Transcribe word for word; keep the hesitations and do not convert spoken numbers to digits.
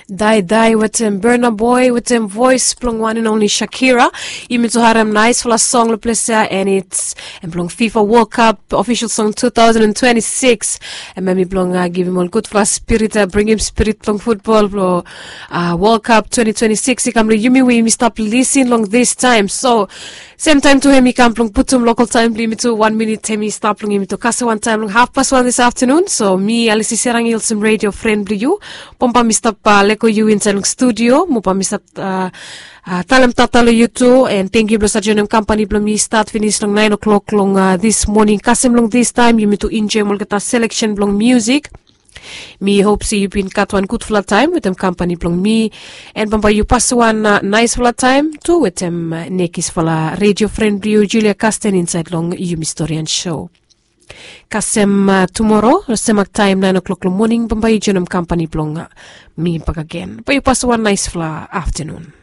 Daidai wetem Burna Boy wetem voes blong wan and only Shakira. Yumi tu harem naispela song long ples ya, and it's em blong FIFA World Cup official song two thousand and twenty-six. Em em i blong uh, givim ol gudfala spirit, uh, bringim spirit blong futbol blong uh, World Cup twenty twenty-six i kam long yumi we yumi stap lisin long this time. So sem taim tu em i kam blong putum lokal taim blong yumi tu wan minit em i stap long yumi tu kasem wan taim long hafpas wan this afternoon. So mi Alisi Serang i olsem radio friend blong yu. Bambae mi stap uh, leko yu insait long studio mo bae mi stap uh, uh, talem tata long yu tu, and thank you blong sa joinim kampani blong mi start finish long nine o'clock long uh, this morning. Kasem long this time yumi tu enjoy olgeta selection blong music. Mi hope se yu bin gat wan gudfala taim wetem kampani blong mi, and bambae yu pas wan uh, naispela taim tu wetem uh, nekisfala radio friend blong yu Julia Kasten insait long yumi storian show. Kasem uh, tumoro semak taim nine o'clock long morning bambae yu joinim kampani blong uh, mi bakagen. Bae yu pas wan naispela afternoon.